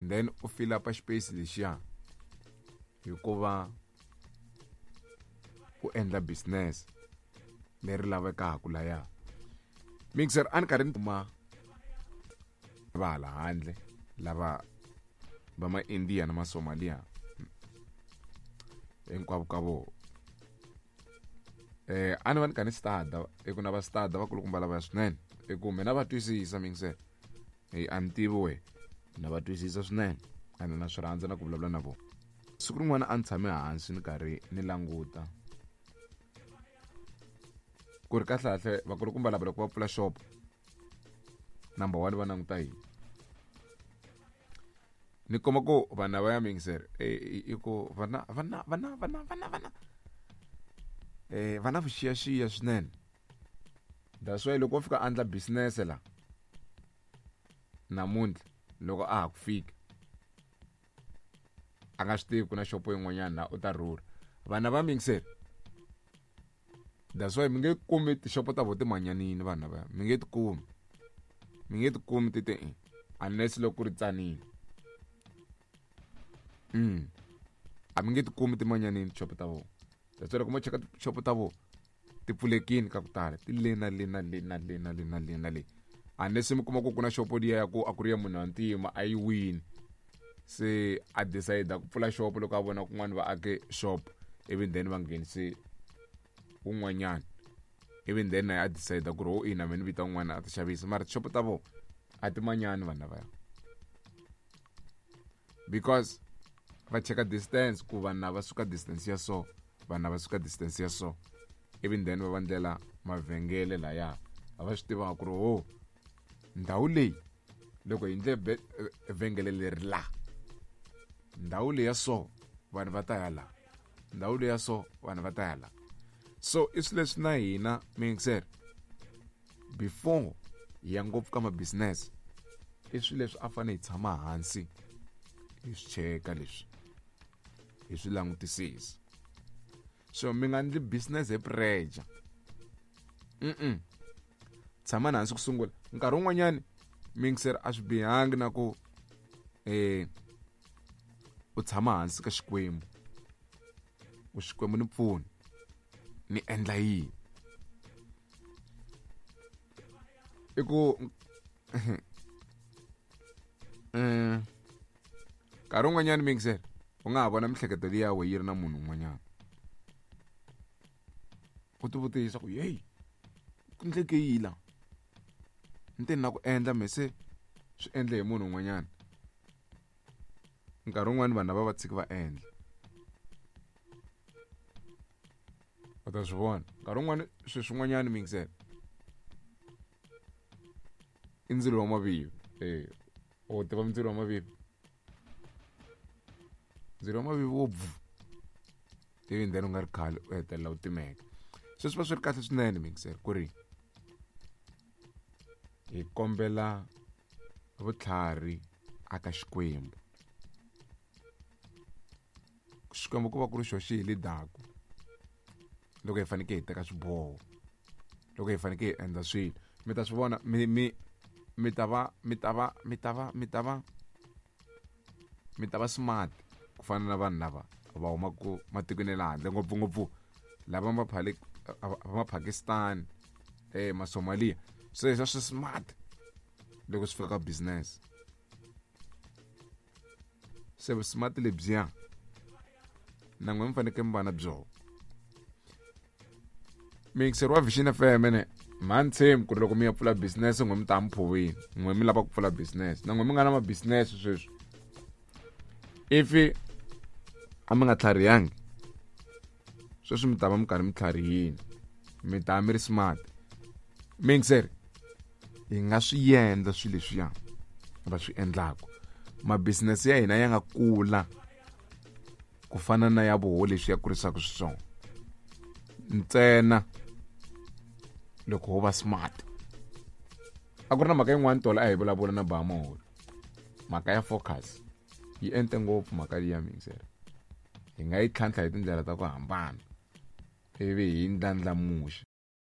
Then u fill up xipeyisi lexiya hikuva u endla business leri lavekaka laya. Mixer a ni karhi ni kuma va hala handle lava va ma India na ma Somalia hinkwavo ka vona. A ni va ni kha ni stada i ku na va stada vakulukumba lavaya swinene i ku mina va twisisa mixer hey, a ni tivi we na va twisisa swinene ene na swi rhandza na ku vulavula na vona. Siku rin'wana a ni tshame hansi ni karhi ni languta ku ri kahlekahle vakulukumba lava loko va pfula shop number 1 va languta yini. Ni kuma ku vanhu lava ya mixer i ku vana vana vana vana vana vana va na vuxiyaxiya swinene. That's why loko wo fika a endla business la namuntlha loko a ha ku fika a nga swi tivi ku na xopo yin'wanyana la u ta rhurha. Vanhu va mixer that's why mi nge kumi tixopo ta vona timanyanini vanhu lava mi nge ti kumi, mi nge ti kumi ti te unless loko ku ri tsanile. A mi nge ti kumi timanyanini tixopo ta vona. That's why loko mo cheka tixopo ta vona ti pfulekini ka ku tala ti le na le na le na le na le na le na le, unless mi kuma ku ku na xopo liya ya ku a ku ri ya munhu wa ntima a yi wini, se a decide ku pfula xopo loko a vona kun'wana va ake shop ivi then va nghenise wun'wanyana ivi then na a decide ku ri ho ina mina ni vita un'wana a ti xavisa. Mara tixopo ta vona a ti manyani vanhu lavaya because va cheka distance ku vanhu lava suka distance ya so, vanhu lava suka distance ya so, ivi then va va ndlela mavhengele laya a va swi tivaka ku ri ho ndhawu leyi loko hi ndle vhengele leri la ndhawu leyi ya so vanhu va ta ya la, ndhawu leyi ya so vanhu va ta ya la. So i swilo leswi na hina mixer before hi ya ngopfu ka ma business i swilo leswi a fanele hi tshama hansi hi swi cheka leswi hi swi langutisisa. So mi nga ndli business hi pressure. Tshama hansi ku sungula. Nkarhi wun'wanyani mixer a swi bihangi na ku u tshama hansi ka Xikwembu, u Xikwembu ni pfuni ni endla yini. I ku nkarhi wun'wanyani mixer u nga ha vona mihleketo liya we yi ri na munhu un'wanyana, u ti vutisa ku hey ku ndleke yini la ni te ni la ku endla me se swi endle hi munhu un'wanyana. Nkarhi wun'wani vanhu lava va tshiki va endla, u ta swi vona nkarhi wun'wani swilo swin'wanyana mixer i ndzilo wa mavivi. U tiva ndzilo wa mavivi, ndzilo wa mavivi wo bvu ivi then u nga ri khale u hetelela u timeka. Se swi va swi ri kahle swinene mixer ku ri hi kombela vutlhari aka Xikwembu. Xikwembu ku va ku ri xo xi hi leadaku loko hi fanekele hi teka swiboho, loko hi fanekele hi endla swilo. Mi ta swi vona mi mi mi ta va mi ta va mi ta va mi ta va mi ta va smart ku fana na vanhu lava va humaka matikweni ya le handle, ngopfungopfu lava va ma Pakistan, ma Somalia. Se swa swi smart loko swi fika ka business. Se smart lebyiya na n'we mi fanekele mi va na byona. Mixer wa Vision FM ne mhani tshembi ku ri loko mi ya pfula business n'we mi ta mi phuwini, n'we mi lava ku pfula business na n'we mi nga na ma business sweswi, if a mi nga tlharihangi sweswi mi ta va mi karhi mi tlharihini, mi ta mi ri smart. Mixer hi nga swi endla swilo leswiya va swi endlaka, ma business ya hina ya nga kula ku fana na ya voho leswi ya kurisaka xiswona ntsena loko ho va smart. A ku ri na mhaka yin'wana tolo a hi vulavula na Bamaholo, mhaka ya focus yi ente ngopfu mhaka liya mixer, hi nga yi tlhantlha hi tindlela ta ku hambana ivi hi ndlandlamuxa.